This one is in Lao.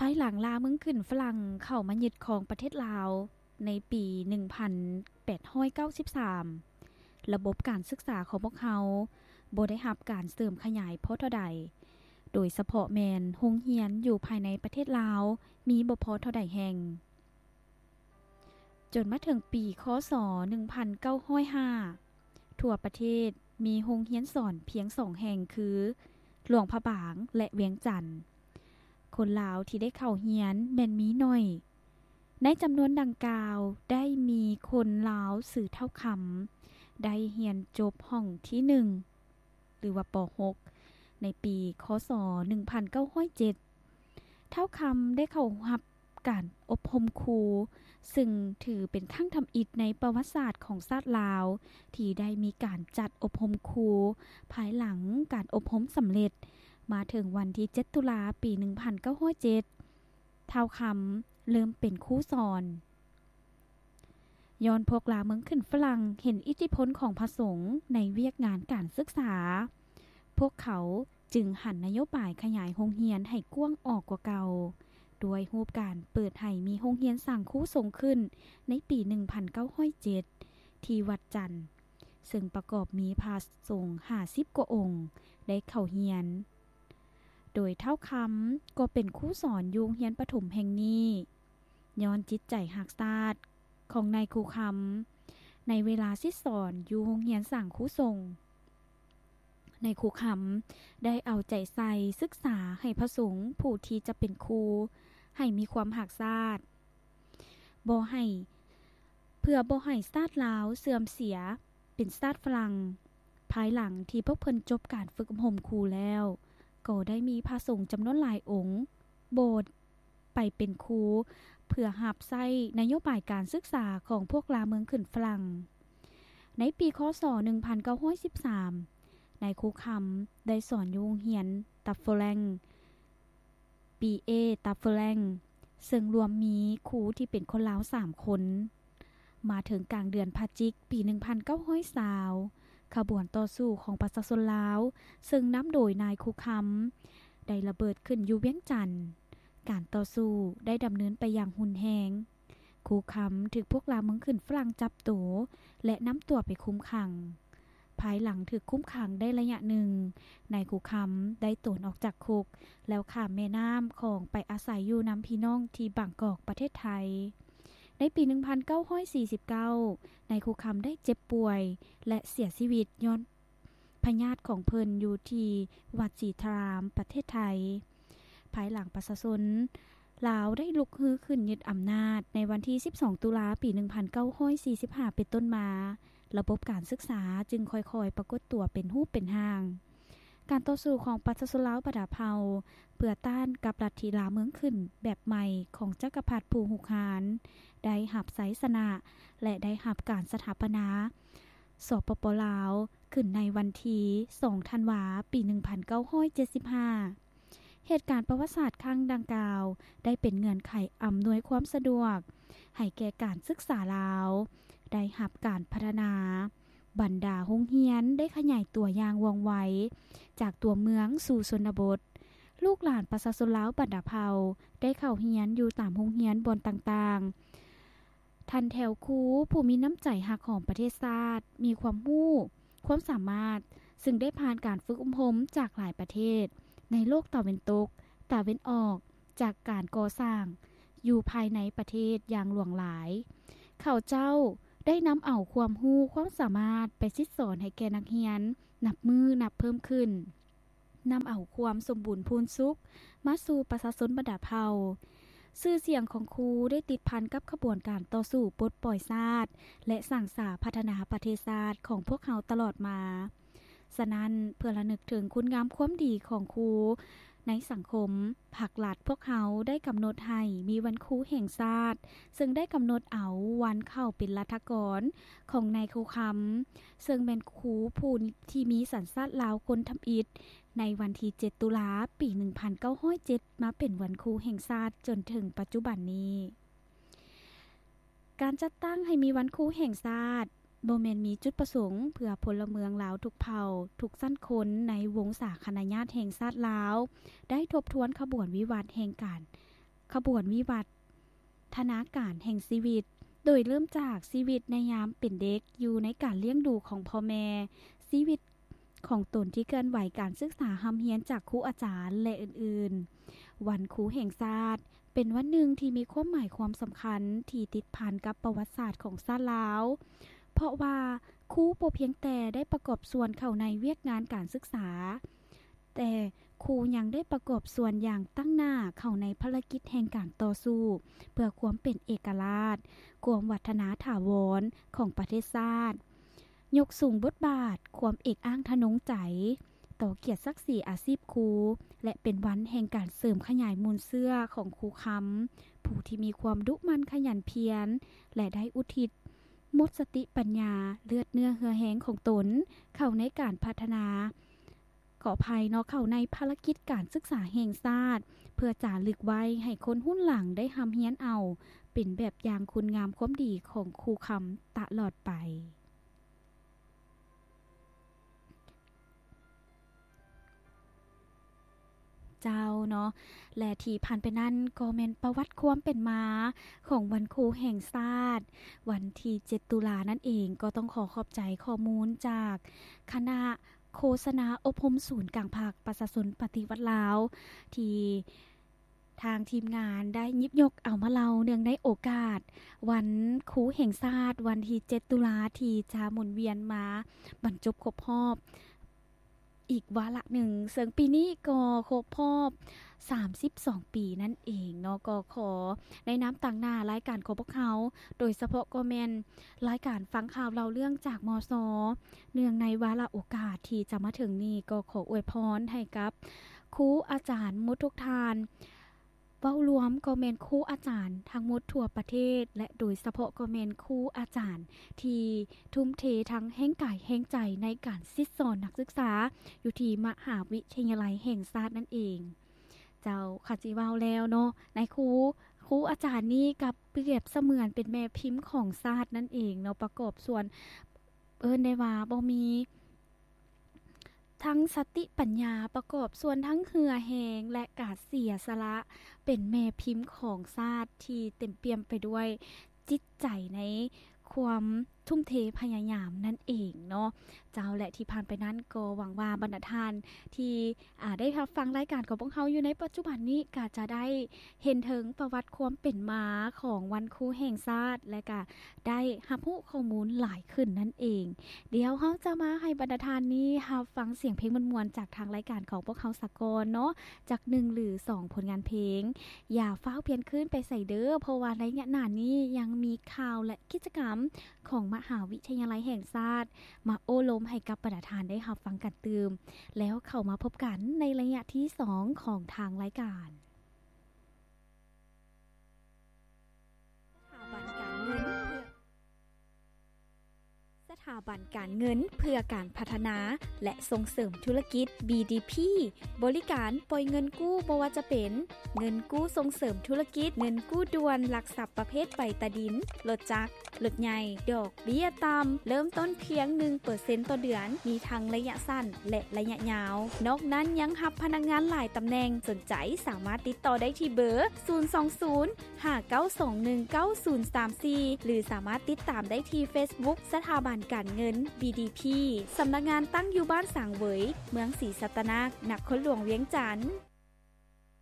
ພາຍຫຼັງລ່າເມືອງຂຶ້ນຝຣັ່ງເຂົ້າມາຍຶດຄອງປະເທດລາວໃນປີໜຶ່ງພັນແປດຮ້ອຍເກົ້າສິບສາມ, ລະບົບການສຶກສາຂອງພວກເຮົາບໍ່ໄດ້ຮັບການເສີມຂະຫຍາຍພໍເທົ່າໃດ, ໂດຍສະເພາະແມ່ນໂຮງຮຽນຢູ່ພາຍໃນປະເທດລາວມີບໍ່ພໍເທົ່າໃດແຫ່ງ. ຈົນມາເຖິງປີ ຄ.ສ. ໜຶ່ງພັນເກົ້າຮ້ອຍຫ້າ ທົ່ວປະເທດມີໂຮງຮຽນສອນພຽງສອງແຫ່ງ ຄື ຫຼວງພະບາງ ແລະ ວຽງຈັນ. ຄົນລາວທີ່ໄດ້ເຂົ້າຮຽນແມ່ນມີໜ້ອຍ. ໃນຈຳນວນດັ່ງກ່າວ ໄດ້ມີຄົນລາວຊື່ທ້າວຄຳ ໄດ້ຮຽນຈົບຫ້ອງທີໜຶ່ງ ຫຼືວ່າ ປ.ຫົກ ໃນປີ ຄ.ສ. ໜຶ່ງພັນເກົ້າຮ້ອຍເຈັດ. ທ້າວຄຳໄດ້ເຂົ້າຮັບການອົບຮົມຄູ, ຊຶ່ງຖືເປັນຄັ້ງທຳອິດໃນປະຫວັດສາດຂອງຊາດລາວ ທີ່ໄດ້ມີການຈັດອົບຮົມຄູ. ພາຍຫຼັງການອົບຮົມສຳເລັດ, ມາເຖິງວັນທີເຈັດ ຕຸລາ ປີໜຶ່ງພັນເກົ້າຮ້ອຍເຈັດ ທ້າວຄຳເລີ່ມເປັນຄູສອນ. ຍ້ອນພວກລ່າເມືອງຂຶ້ນຝຣັ່ງເຫັນອິດທິພົນຂອງພະສົງໃນວຽກງານການສຶກສາ, ພວກເຂົາຈຶ່ງຫັນນະໂຍບາຍຂະຫຍາຍໂຮງຮຽນໃຫ້ກວ້າງອອກກວ່າເກົ່າ, ດ້ວຍຮູບການເປີດໃຫ້ມີໂຮງຮຽນສ້າງຄູສົງຂຶ້ນໃນປີໜຶ່ງພັນເກົ້າຮ້ອຍເຈັດ ທີ່ວັດຈັນ, ເຊິ່ງປະກອບມີພະສົງຫ້າສິບກວ່າອົງໄດ້ເຂົ້າຮຽນ. ໂດຍທ້າວຄຳກໍເປັນຄູສອນຢູ່ໂຮງຮຽນປະຖົມແຫ່ງນີ້. ຍ້ອນຈິດໃຈຮັກຊາດຂອງນາຍຄູຄຳ, ໃນເວລາສິດສອນຢູ່ໂຮງຮຽນສ້າງຄູສົງ, ນາຍຄູຄຳໄດ້ເອົາໃຈໃສ່ສຶກສາໃຫ້ພະສົງຜູ້ທີ່ຈະເປັນຄູໃຫ້ມີຄວາມຮັກຊາດ, ບໍ່ໃຫ້, ເພື່ອບໍ່ໃຫ້ຊາດລາວເສື່ອມເສຍເປັນຊາດຝຣັ່ງ. ພາຍຫຼັງທີ່ພວກເພິ່ນຈົບການຝຶກອົບຮົມຄູແລ້ວ, ກໍໄດ້ມີພະສົງຈຳນວນຫຼາຍອົງ ບໍ່ໄປເປັນຄູ ເພື່ອຮັບໃຊ້ນະໂຍບາຍການສຶກສາຂອງພວກລ່າເມືອງຂຶ້ນຝຣັ່ງ. ໃນປີ ຄ.ສ. ໜຶ່ງພັນເກົ້າຮ້ອຍສິບສາມ ນາຍຄູຄຳໄດ້ສອນຢູ່ໂຮງຮຽນຕັບເຟີແລງ ບີເອ ຕັບເຟີແລງ ເຊິ່ງລວມມີຄູທີ່ເປັນຄົນລາວສາມຄົນ. ມາເຖິງກາງເດືອນພະຈິກ ປີໜຶ່ງພັນເກົ້າຮ້ອຍຊາວ ຂະບວນຕໍ່ສູ້ຂອງປະຊາຊົນລາວ ເຊິ່ງນຳໂດຍນາຍຄູຄຳ ໄດ້ລະເບີດຂຶ້ນຢູ່ວຽງຈັນ. ການຕໍ່ສູ້ໄດ້ດຳເນີນໄປຢ່າງຮຸນແຮງ. ຄູຄຳຖືກພວກລ່າເມືອງຂຶ້ນຝຣັ່ງຈັບໂຕ ແລະ ນຳຕົວໄປຄຸມຂັງ. ພາຍຫຼັງຖືກຄຸມຂັງໄດ້ໄລຍະໜຶ່ງ, ນາຍຄູຄຳໄດ້ໂຕນອອກຈາກຄຸກ ແລ້ວຂ້າມແມ່ນ້ຳຂອງໄປອາໄສຢູ່ນຳພີ່ນ້ອງທີ່ບາງກອກ ປະເທດໄທ. ໃນປີໜຶ່ງພັນເກົ້າຮ້ອຍສີ່ສິບເກົ້າ ນາຍຄູຄຳໄດ້ເຈັບປ່ວຍ ແລະ ເສຍຊີວິດຍ້ອນພະຍາດຂອງເພິ່ນຢູ່ທີ່ວັດສີທາລາມ ປະເທດໄທ. ພາຍຫຼັງປະຊາຊົນລາວໄດ້ລຸກຮືຂຶ້ນຍຶດອຳນາດໃນວັນທີສິບສອງ ຕຸລາ ປີໜຶ່ງພັນເກົ້າຮ້ອຍສີ່ສິບຫ້າ ເປັນຕົ້ນມາ, ລະບົບການສຶກສາຈຶ່ງຄ່ອຍໆປາກົດຕົວເປັນຮູບເປັນຮ່າງ. ການຕໍ່ສູ້ຂອງປະຊາຊົນລາວບັນດາເຜົ່າ ເພື່ອຕ້ານກັບລັດທິລ່າເມືອງຂຶ້ນແບບໃໝ່ຂອງຈັກກະພັດຜູ້ຮຸກຮານ ໄດ້ຮັບໄຊຊະນະ ແລະ ໄດ້ຮັບການສະຖາປະນາ ສປປ ລາວ ຂຶ້ນໃນວັນທີສອງ ທັນວາ ປີໜຶ່ງພັນເກົ້າຮ້ອຍເຈັດສິບຫ້າ. ເຫດການປະຫວັດສາດຄັ້ງດັ່ງກ່າວ ໄດ້ເປັນເງື່ອນໄຂອຳນວຍຄວາມສະດວກໃຫ້ແກ່ການສຶກສາລາວ ໄດ້ຮັບການພັດທະນາ. ບັນດາໂຮງຮຽນໄດ້ຂະຫຍາຍຕົວຢ່າງວ່ອງໄວ ຈາກຕົວເມືອງສູ່ຊົນນະບົດ. ລູກຫຼານປະຊາຊົນລາວບັນດາເຜົ່າໄດ້ເຂົ້າຮຽນຢູ່ຕາມໂຮງຮຽນບ່ອນຕ່າງໆ. ທ່ານແຖວຄູຜູ້ມີນ້ຳໃຈຮັກຫອມປະເທດຊາດ, ມີຄວາມຮູ້, ຄວາມສາມາດ, ຊຶ່ງໄດ້ຜ່ານການຝຶກອົບຮົມຈາກຫຼາຍປະເທດໃນໂລກຕາເວັນຕົກ, ຕາເວັນອອກ, ຈາກການກໍ່ສ້າງຢູ່ພາຍໃນປະເທດຢ່າງຫຼວງຫຼາຍ. ເຂົາເຈົ້າໄດ້ນຳເອົາຄວາມຮູ້ຄວາມສາມາດໄປສິດສອນໃຫ້ແກ່ນັກຮຽນນັບມື້ນັບເພີ່ມຂຶ້ນ, ນຳເອົາຄວາມສົມບູນພູນສຸກມາສູ່ປະຊາຊົນບັນດາເຜົ່າ. ຊື່ສຽງຂອງຄູໄດ້ຕິດພັນກັບຂະບວນການຕໍ່ສູ້ປົດປ່ອຍຊາດ ແລະ ສ້າງສາພັດທະນາປະເທດຊາດຂອງພວກເຮົາຕະຫຼອດມາ. ສະນັ້ນ, ເພື່ອລະນຶກເຖິງຄຸນງາມຄວາມດີຂອງຄູໃນສັງຄົມ, ພັກລັດພວກເຮົາໄດ້ກຳນົດໃຫ້ມີວັນຄູແຫ່ງຊາດ, ເຊິ່ງໄດ້ກຳນົດເອົາວັນເຂົ້າເປັນລັດຖະກອນຂອງນາຍຄູຄຳ, ເຊິ່ງແມ່ນຄູຜູ້ທີ່ມີສັນຊາດລາວຄົນທຳອິດ ໃນວັນທີເຈັດ ຕຸລາ ປີໜຶ່ງພັນເກົ້າຮ້ອຍເຈັດ ມາເປັນວັນຄູແຫ່ງຊາດຈົນເຖິງປັດຈຸບັນນີ້. ການຈັດຕັ້ງໃຫ້ມີວັນຄູແຫ່ງຊາດ ບໍ່ແມ່ນມີຈຸດປະສົງເພື່ອພົນລະເມືອງລາວທຸກເຜົ່າ, ທຸກຊັ້ນຄົນໃນວົງສາຄະນະຍາດແຫ່ງຊາດລາວ ໄດ້ທົບທວນຂະບວນວິວັດແຫ່ງການ ຂະບວນວິວັດທະນາການແຫ່ງຊີວິດ, ໂດຍເລີ່ມຈາກຊີວິດໃນຍາມເປັນເດັກ, ຢູ່ໃນການລ້ຽງດູຂອງພໍ່ແມ່, ຊີວິດຂອງຕົນທີ່ເຄື່ອນໄຫວ, ການສຶກສາຮ່ຳຮຽນຈາກຄູອາຈານ ແລະ ອື່ນໆ. ວັນຄູແຫ່ງຊາດ ເປັນວັນໜຶ່ງທີ່ມີຄວາມໝາຍຄວາມສຳຄັນທີ່ຕິດພັນກັບປະຫວັດສາດຂອງຊາດລາວ, ເພາະວ່າຄູບໍ່ພຽງແຕ່ໄດ້ປະກອບສ່ວນເຂົ້າໃນວຽກງານການສຶກສາ, ແຕ່ຄູຍັງໄດ້ປະກອບສ່ວນຢ່າງຕັ້ງໜ້າເຂົ້າໃນພາລະກິດແຫ່ງການຕໍ່ສູ້ເພື່ອຄວາມເປັນເອກະລາດ, ຄວາມວັດທະນາຖາວອນຂອງປະເທດຊາດ, ຍົກສູງບົດບາດຄວາມເອກອ້າງທະນົງໃຈຕໍ່ກຽດສັກສີອາຊີບຄູ ແລະ ເປັນວັນແຫ່ງການເສີມຂະຫຍາຍມູນເຊື້ອຂອງຄູຄຳ ຜູ້ທີ່ມີຄວາມດຸໝັ່ນຂະຫຍັນພຽນ ແລະ ໄດ້ອຸທິດໝົດສະຕິປັນຍາ, ເລືອດເນື້ອເຫື່ອແຮງຂອງຕົນເຂົ້າໃນການພັດທະນາ ຂໍອະໄພເນາະ, ເຂົ້າໃນພາລະກິດການສຶກສາແຫ່ງຊາດ ເພື່ອຈາລຶກໄວ້ໃຫ້ຄົນຮຸ່ນຫຼັງໄດ້ຮ່ຳຮຽນເອົາ ເປັນແບບຢ່າງຄຸນງາມຄວາມດີຂອງຄູຄຳຕະຫຼອດໄປ. ເຈົ້າເນາະ ແລະ ທີ່ຜ່ານໄປນັ້ນກໍແມ່ນປະຫວັດຄວາມເປັນມາຂອງວັນຄູແຫ່ງຊາດ ວັນທີເຈັດຕຸລານັ້ນເອງ. ກໍຕ້ອງຂໍຂອບໃຈຂໍ້ມູນຈາກຄະນະ ໂຄສະນາອົບຮົມສູນກາງພັກປະຊາຊົນປະຕິວັດລາວ ທີ່ທາງທີມງານໄດ້ຫຍິບຍົກເອົາມາເລົ່າເນື່ອງໃນໂອກາດວັນຄູແຫ່ງຊາດ ວັນທີເຈັດຕຸລາ ທີ່ຈະໝູນວຽນມາບັນຈົບຄົບຮອບອີກວາລະໜຶ່ງ, ເຊິ່ງປີນີ້ກໍຄົບຮອບສາມສິບສອງປີນັ້ນເອງເນາະ. ກໍຂໍໃນນາມຕາງໜ້າລາຍການຂອງພວກເຮົາ ໂດຍສະເພາະກໍແມ່ນ ລາຍການຟັງຂ່າວເລົ່າເລື່ອງຈາກ ມສ ເນື່ອງໃນວາລະໂອກາດທີ່ຈະມາເຖິງນີ້ ກໍຂໍອວຍພອນໃຫ້ກັບຄູອາຈານໝົດທຸກທ່ານ, ເວົ້າລວມກໍແມ່ນຄູອາຈານທັງໝົດທົ່ວປະເທດ ແລະ ໂດຍສະເພາະກໍແມ່ນຄູອາຈານທີ່ທຸ່ມເທທັງແຮງກາຍແຮງໃຈໃນການສິດສອນນັກສຶກສາຢູ່ທີ່ມະຫາວິທະຍາໄລແຫ່ງຊາດນັ້ນເອງ. ເຈົ້າ ຄັນຊິເວົ້າແລ້ວເນາະ ນາຍຄູ ຄູອາຈານນີ້ກໍປຽບສະເໝືອນເປັນແມ່ພິມຂອງຊາດນັ້ນເອງເນາະ, ປະກອບສ່ວນ ເອີ້ນໄດ້ວ່າບໍ່ມີທັງສະຕິປັນຍາ, ປະກອບສ່ວນທັງເຫື່ອແຮງ ແລະ ກະເສຍສະຫຼະ ເປັນແມ່ພິມຂອງຊາດທີ່ເຕັມປ່ຽມໄປດ້ວຍ ຈິດໃຈໃນຄວາມທຸ່ມເທພະຍາຍາມນັ້ນເອງເນາະ ເຈົ້າ. ແລະ ທີ່ຜ່ານໄປນັ້ນກໍຫວັງວ່າບັນດາທ່ານທີ່ ອາ ໄດ້ຮັບຟັງລາຍການຂອງພວກເຮົາຢູ່ໃນປັດຈຸບັນນີ້ ກໍຈະໄດ້ເຫັນເຖິງປະຫວັດຄວາມເປັນມາຂອງວັນຄູແຫ່ງຊາດ ແລະ ກໍໄດ້ຮັບຮູ້ຂໍ້ມູນຫຼາຍຂຶ້ນນັ້ນເອງ. ດຽວເຮົາຈະມາໃຫ້ບັນດາທ່ານນີ້ຮັບຟັງສຽງເພງມ່ວນໆ ຈາກທາງລາຍການຂອງພວກເຮົາສາກ່ອນເນາະ ຈັກໜຶ່ງຫຼືສອງຜົນງານເພງ. ຢ່າຟ້າວປ່ຽນຄືນໄປໃສເດີ້ ເພາະວ່າໄລຍະໜ້ານີ້ຍັງມີຂ່າວ ແລະ ກິດຈະກຳຂອງມະຫາວິທະຍາໄລແຫ່ງຊາດ ມາໂອ້ລົມໃຫ້ກັບບັນດາທ່ານໄດ້ຮັບຟັງກັນຕື່ມ, ແລ້ວເຂົ້າມາພົບກັນໃນໄລຍະທີສອງຂອງທາງລາຍການ. ສະຖາບັນການເງິນເພື່ອ ສະຖາບັນການເງິນເພື່ອການພັດທະນາ ແລະ ສົ່ງເສີມທຸລະກິດ ບີດີພີ ບໍລິການປ່ອຍເງິນກູ້ ບໍ່ວ່າຈະເປັນເງິນກູ້ສົ່ງເສີມທຸລະກິດ, ເງິນກູ້ດ່ວນຫຼັກຊັບປະເພດໃບຕາດິນ, ລົດຈັກ, ລົດໃຫຍ່, ດອກເບ້ຍຕ່ຳ, ເລີ່ມຕົ້ນພຽງໜຶ່ງເປີເຊັນຕໍ່ເດືອນ, ມີທັງໄລຍະສັ້ນ ແລະ ໄລຍະຍາວ. ນອກນັ້ນຍັງຮັບພະນັກງານຫຼາຍຕຳແໜ່ງ. ສົນໃຈສາມາດຕິດຕໍ່ໄດ້ທີ່ເບີ ສູນສອງສູນ ຫ້າເກົ້າສອງໜຶ່ງເກົ້າສູນສາມສີ່ ຫຼື ສາມາດຕິດຕາມໄດ້ທີ່ເຟສບຸກ ສະຖາບັນການເງິນ ບີດີພີ ສຳນັກງານຕັ້ງຢູ່ບ້ານສາງເຫວີຍ ເມືອງສີສັດຕະນາກ ນະຄອນຫຼວງວຽງຈັນ.